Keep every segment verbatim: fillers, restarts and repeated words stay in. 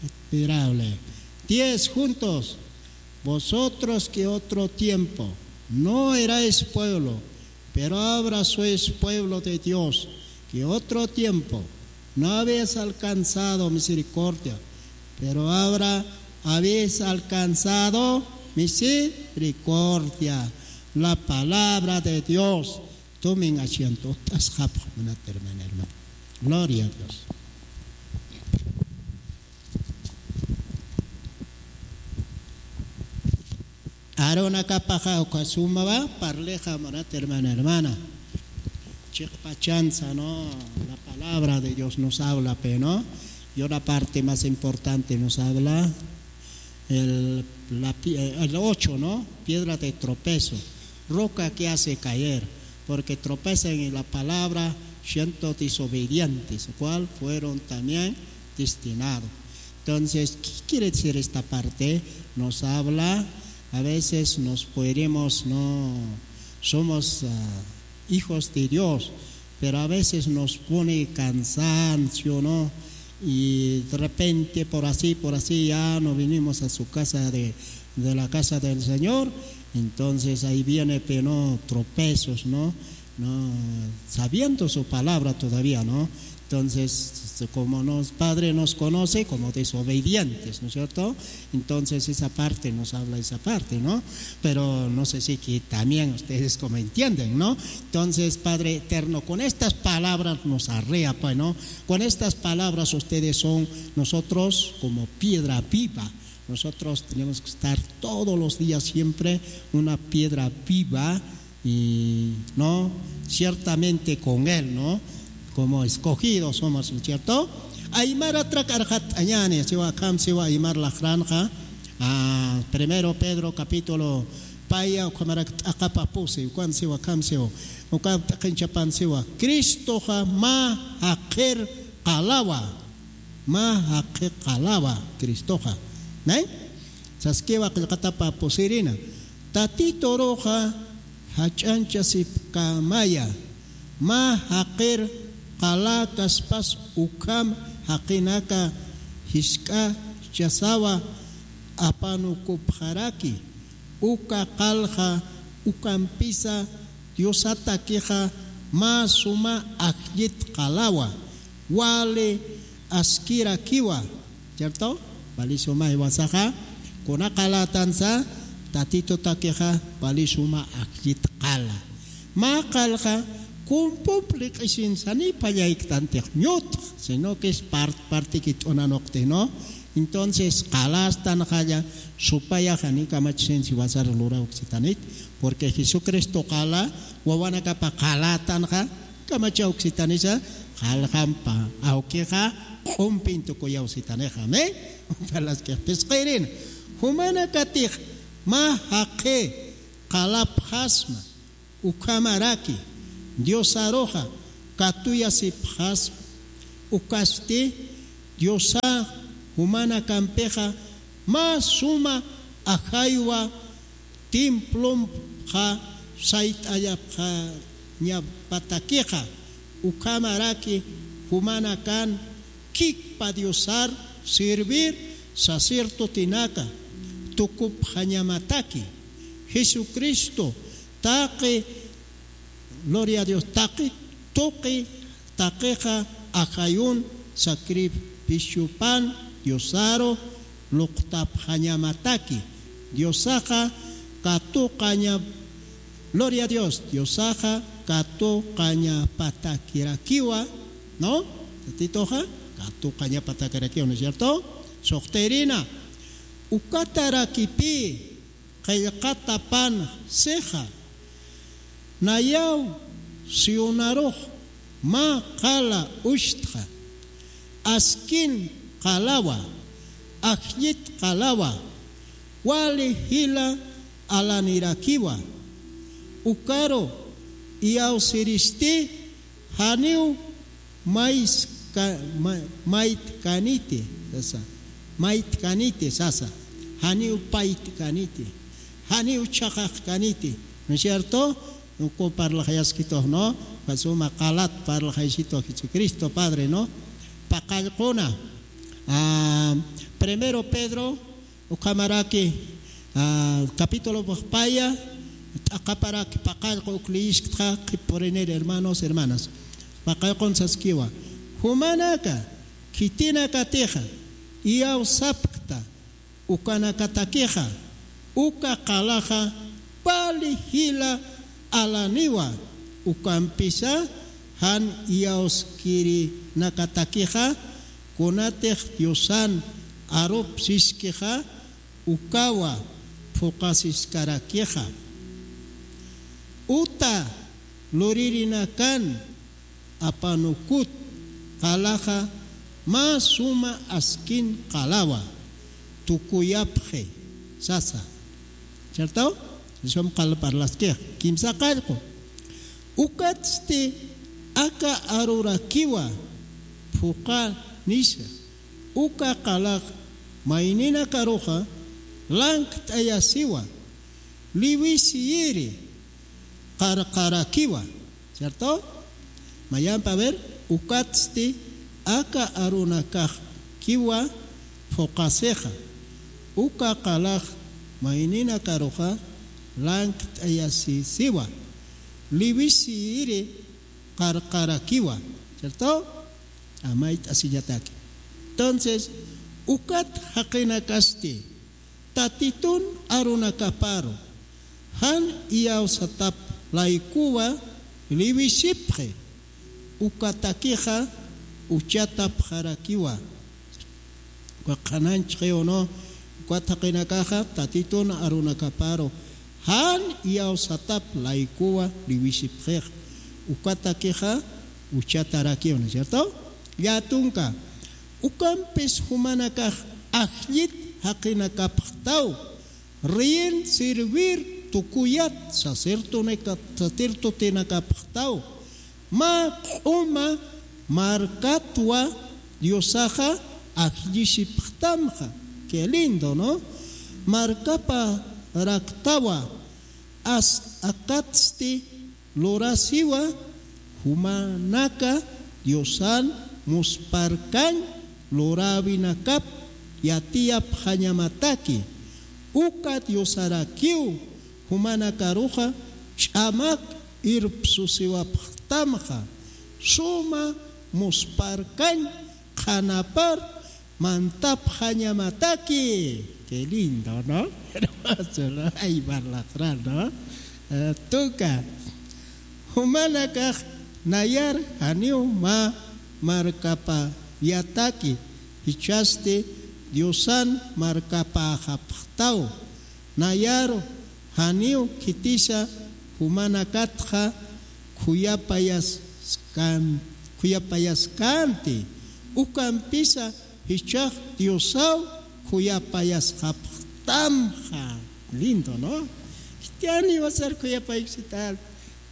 Admirable. Diez juntos. Vosotros que otro tiempo no erais pueblo, pero ahora sois pueblo de Dios, que otro tiempo no habéis alcanzado misericordia, pero ahora habéis alcanzado misericordia. La palabra de Dios. Tomen asiento, ut'asxapxi, munat hermana, hermano. Gloria a Dios. Arunakapaxa uka sumawa parlixa, munat hermana, hermana. Chiqpachansa, ¿no? La palabra de Dios nos habla, pe, ¿no? Y una parte más importante nos habla el, la pi-, el ocho, ¿no? Piedra de tropezo, roca que hace caer, porque tropezan en la palabra siendo desobedientes, cual fueron también destinados. Entonces, ¿qué quiere decir esta parte? Nos habla, a veces nos podemos, no, somos, ah, hijos de Dios, pero a veces nos pone cansancio, ¿no? Y de repente, por así, por así, ya no vinimos a su casa de, de la casa del Señor. Entonces ahí viene, pero no, tropezos, ¿no? No, sabiendo su palabra todavía, ¿no? Entonces, como nos, Padre nos conoce como desobedientes, ¿no es cierto? Entonces, esa parte nos habla esa parte, ¿no? Pero no sé si que también ustedes como entienden, ¿no? Entonces, Padre eterno, con estas palabras nos arrea, pues, ¿no? Con estas palabras ustedes son nosotros como piedra viva. Nosotros tenemos que estar todos los días siempre una piedra viva y, ¿no? Ciertamente con Él, ¿no? Como escogidos somos, ¿no es cierto? Aymara trak arxat'añani, siwa akham siwa aymar laqranqa, ah, primero Pedro capítulo paya, ukhamarak t'aqapa pusi, ukan siwa akham siwa, ukan t'aqinchapan siwa, Cristoxa mä jaqir qalawa, mä jaqi qalawa Cristoxa. ¿Nay? Saskiwa qillqatapa pusirina. Tatituruxa jach'anchasipkamaya, mä jaqir qala kaspas ukham jaqinaka jisk'achasawa apanukupxaraki, uka qalxa ukampisa Diosatakixa mä suma ajllit qalawa, wali askirakiwa, ¿cierto? Wali suma jiwasaxa, kuna qalatansa, Tatitutakixa wali suma ajllit qala. Mä qalxa kumpump liq'isinsa ni pallayktanti ñutx, sino que es part-, parti kit'unanuqti, ¿no? Entonces, qalastanxalla, supaya jani kamachisinsi wasar lurawksitanit, porque Jesucristo qala, wawanakapa qalatanxa, kamachawksitanisa, qalxampa, awkixa, q'umpin tukuyawsitanixa, amén. Palaskix pisqirina. Jumanakatix, mä jaqi, qalapxasma, ukhamaraki, Diosaruxa, katuyasipxasma, ukasti, Diosa, jumanakampixa, mä suma ajaywa, templompxa sayt'allapxañapatakixa, ukhamaraki jumanakan kikpa Diosar servir sacerdotenaka tukupxañamataki. Jesucristo taqi, gloria a Dios, taqi tuqi taqixa ajayun sacrificiopan Diosaru luqtapxañamataki. Diosaxa katuqaña, gloria a Dios, Diosaxa katuqañapatakirakiwa, ¿no? Tatituxa katuqañapatakirakiwa, ¿no es cierto? Suxtirina, ukatarakipï, qillqatapan sixa, nayaw Sionarux mä qala uchtxa, askin qalawa, ajllit qalawa, wali jila alanirakiwa, ukaru iyawsiristi janiw mayska-, ma-, maytkaniti, sasa. Maytkaniti, sasa. Janiw paytkaniti. Janiw chhaqaqkaniti. ¿No es cierto? Uku parlaxayaskitux, ¿no? Suma qalat parlaxaysitu Jesucristo, Padre, ¿no? Paqallquna. Ah, Primero Pedro, ukhamaraki, ah, capítulo paya, t'aqaparaki paqallqu uk liyisktxa, qhippurinir hermanos, hermanas. Paqallqun saskiwa. Jumanaka, khitinakatixa, iyawsapkta, ukanakatakixa, uka qalaxa, pali jila alaniwa, ukampisa, jan iyawskirinakatakixa, kunatix Diosan arup siskixa, ukawa phuqasiskarakixa. Uta luririnakan apanukut qalaxa mä suma askin qalawa tukuyapxi sasa. ¿Cierto? Sum qala parlaskix, kimsa qallqu. Ukatsti aka arurakiwa phuqanisa. Uka qalax mayninakaruxa lankt'ayasiwa, liwisiyiri qarqarakiwa, ¿cierto? Mayampa, a ver, ukatsti aka arunakaxkiwa phuqasixa, uka qalax mayninakaruxa lankt'ayasisiwa, liwisiyiri qarqarakiwa, ¿cierto? Amayt'asiñataki. Entonces, ukat jaqinakasti, Tatitun arunakaparu, jan iyawsatap laykuwa liwisipxi, ukatakixa uchatapxarakiwa. Uka qhananchxi, ¿o no? Ukat jaqinakaxa, Tatitun arunakaparu, jan iyawsatap laykuwa liwisipxix, ukatakixa uchatarakiwa, ¿no es cierto? Llätunka, ukampis jumanakax ajllit jaqinakapxtaw, reyin servir tukuyat sacerdotenaka-, sacerdotenakapxtaw, mä q'uma markatwa Diosaxa ajllisipxtamxa. Qué lindo, ¿no? Markaparaktawa, as akatsti lurasiwa, jumanaka Diosan musparkañ luräwinakap yatiyapxañamataki. Uka Diosarakiw jumanakaruxa ch'amak irpsusiwapxtamxa, suma musparkañ qhanapar mantapxañamataki. Qué lindo, ¿no? Hermoso, ¿no? Ay, parlaqra, ¿no? Eh, tuka. Jumanakax nayar janiw mä markapayataki, jichhasti Diosan markapäxapxtaw. Nayaru janiw khitisa jumanakatxa khuyapayaskan-, khuyapayaskänti, ukampisa jichhax Diosaw khuyapayasxapxtamxa. Lindo, ¿no? Khitiyan jiwasar khuyapayksita.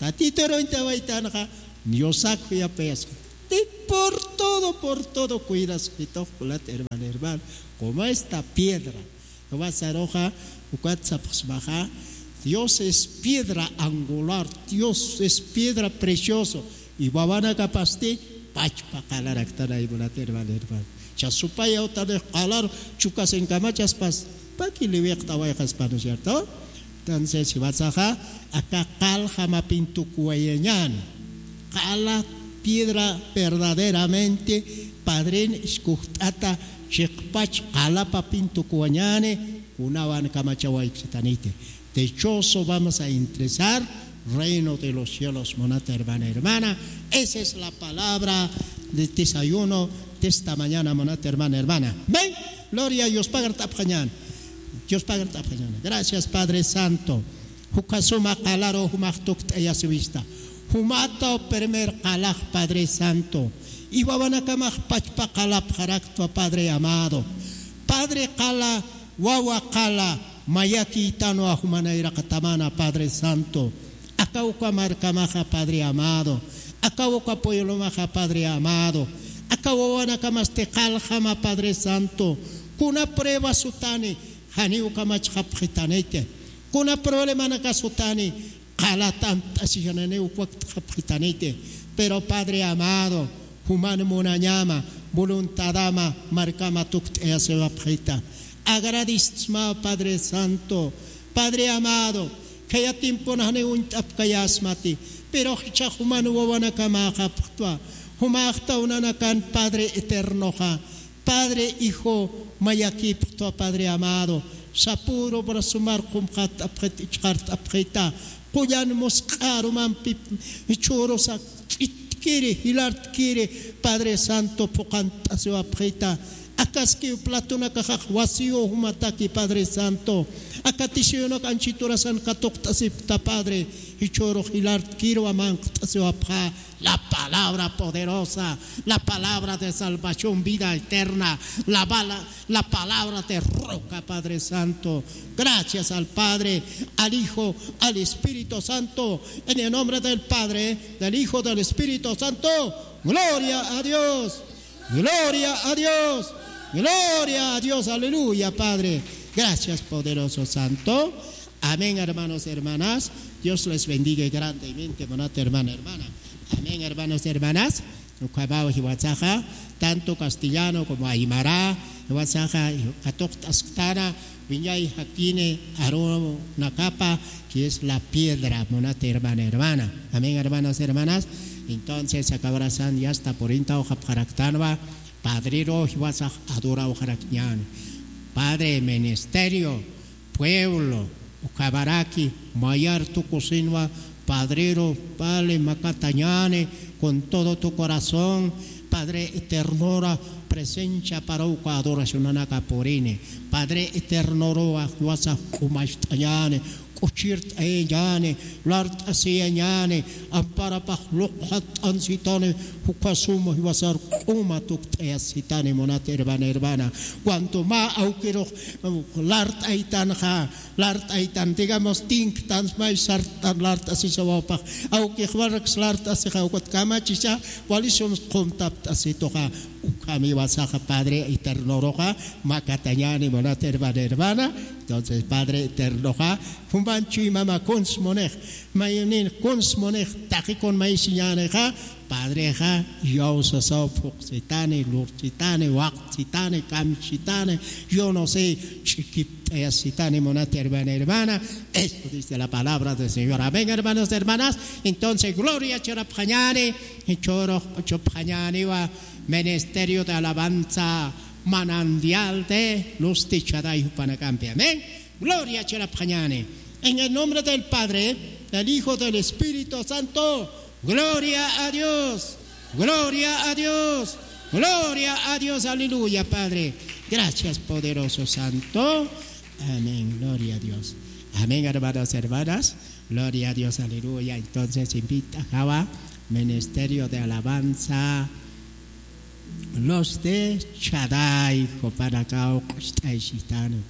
Tatituruñ tawaytanxa, Diosax khuyapayasxa. Ti por todo, por todo cuidas, jitux, kulat, hermano, hermano. Como esta piedra. Jiwasaruxa, ukat sapxsmaxa, Dios es piedra angular, Dios es piedra precioso. Y wawanakapasti pachpa qalaraktanay, munat hermano, hermano. Cha supaya utanix qalar chukasinkamachaspas, paki liwiqtawayxaspa, ¿no es cierto? Entonces, jiwasaxa, aka qaljamapin tukuwayañäni. Qala piedra verdaderamente padrin iskujt'ata chiqpach qalapapin tukuwañäni, kunawan kamachawayksitaniti. Dichoso vamos a ingresar reino de los cielos, munat hermana, hermana. Esa es la palabra de desayuno de esta mañana, munat hermana, hermana. Amén. Gloria a Dios, pagar tapxañan. Dios pagar tapxañan. Gracias, Padre Santo. Jukasuma qalaru jumax tukt'ayasiwista. Jumataw primer qalax, Padre Santo. Y wawanakamax pachpa qalapxaraktwa, Padre amado. Padre qala, wawa qala, mayakïtanwa jumanayraqatamana, Padre Santo. Aka uka markamaxa, Padre amado. Aka uka pueblomaxa, Padre amado. Aka wawanakamasti qaljama, Padre Santo. Kuna prueba sutani, janiw kamachxapxitaniti. Kuna problemanaka sutani, qala tant'asiñananiw wakt'xapxitaniti. Pero Padre amado, juman munañama, voluntadama markama tukt'ayasiwapxita. Agradisma, Padre Santo, Padre amado, khaya tiemponxani uñt'apkayasmati, pero jichhax juman wawanakamäxapxtwa, jumaxtaw nanakan Padre eternoxa, Padre, Hijo, mayakipxtwa, Padre amado, sapüru brasomar qumxat'apxit, ichqart'apxita, qullan musq'a arumampi jichhürusa ch'itkiri, jilartkiri, Padre Santo, phuqhant'asiwapxita. Akaskiw platonakaxax vacío jumataki, Padre Santo. Aka tisuyunak anchhiturasan katuqt'asipxta, Padre, jichhürux jilartkirwa manq't'asiwapxa. La palabra poderosa, la palabra de salvación, vida eterna, la, bala- la palabra de roca, Padre Santo. Gracias al Padre, al Hijo, al Espíritu Santo. En el nombre del Padre, del Hijo, del Espíritu Santo. Gloria a Dios. Gloria a Dios. Gloria a Dios. Aleluya, Padre. Gracias, poderoso Santo. Amén, hermanos, hermanas. Dios les bendiga grandemente, munat hermana, hermana. Amén, hermanos, hermanas. Ukhamaw jiwasaxa, tanto castellano como aymara, jiwasaxa katuqt'asktana, wiñay jakini arunakapa, que es la piedra, munat hermana, hermana. Amén, hermanos, hermanas. Entonces, aka horasan ya está por inta hoqapxaraktanwa, Padrero jiwasax adorauxarakñan. Padre, ministerio, pueblo, ukhamaraki mayar tukusinwa, Padrero, vale, makatañani, con todo tu corazón, Padre eternora, presencia para uka adoracionanaka purini. Padre eternorowa, jiwasa q'umacht'añani, k'uchirt'ayañani, lart'asiyañani, amparapax luqxatt'ansitani, jukasuma jiwasar q'uma tukt'ayasitani, munat hermana, hermana. Cuanto mä awkirux lart'aytanxa, lart'aytan, digamos, tinktan, may sartan lart'asisawapxa, awkix waraks lart'asixa, ukat kamachisa, walisums qumtapt'asituxa, ukham jiwasaxa Padre eternoroxa makatañani, munat hermana, hermana. Entonces, Padre eternoxa, juman chuymama kuns munix, maynin kuns munix, taqikun maysiñanixa, Padrexa, yawsasaw phuqsitani, lurchitani, waqchitani, kamchitani, yo no sé, ch'ikipt'ayasitani, munat hermana, hermana. Esto dice la palabra del Señor. Amén, hermanos, hermanas. Entonces, gloria churapxañani, churux chupxañaniwa, ministerio de alabanza, manantial de luz de Shaddai jupanakampi. Amén. Gloria churapxañani. En el nombre del Padre, del Hijo, del Espíritu Santo. Gloria a Dios. Gloria a Dios. Gloria a Dios. Aleluya, Padre. Gracias, poderoso Santo. Amén. Gloria a Dios. Amén, hermanos, hermanas. Gloria a Dios. Aleluya. Entonces, invita a Ministerio de Alabanza. Luz de Shaddai, jupanakaw q'ucht'aysitani.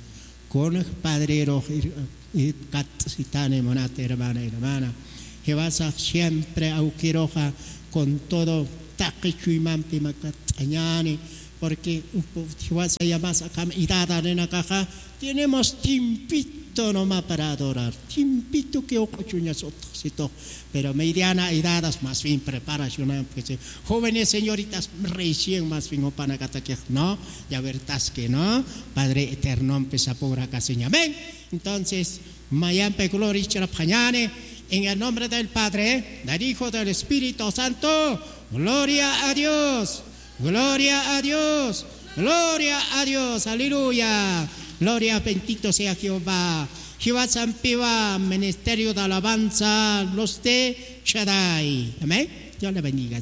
Kunx Padrerux ir-, ir-, kats'sitani, munat hermana, hermana. Jiwasax siempre awkiruxa con todo taqi chuymampi makat'añani, porque jiwasa yamas akham edadaninakaxa, tenemos tiempito nomás para adorar, tiempito que uq'uchuñas utjsitux. Pero mediana edadas, más bien preparación, pues, eh, jóvenes, señoritas, recién más bien jupanakatakix, ¿no? Ya verdad que, ¿no? Padre eterno, pues, apurakaseña. Amén. Entonces, mayampi gloria churapxañani, en el nombre del Padre, del Hijo, del Espíritu Santo. Gloria a Dios. Gloria a Dios. Gloria a Dios. Aleluya. Gloria, bendito sea Jehová. Jiwasampiwa Ministerio de Alabanza, Luz de Shaddai. Amén. Dios le bendiga.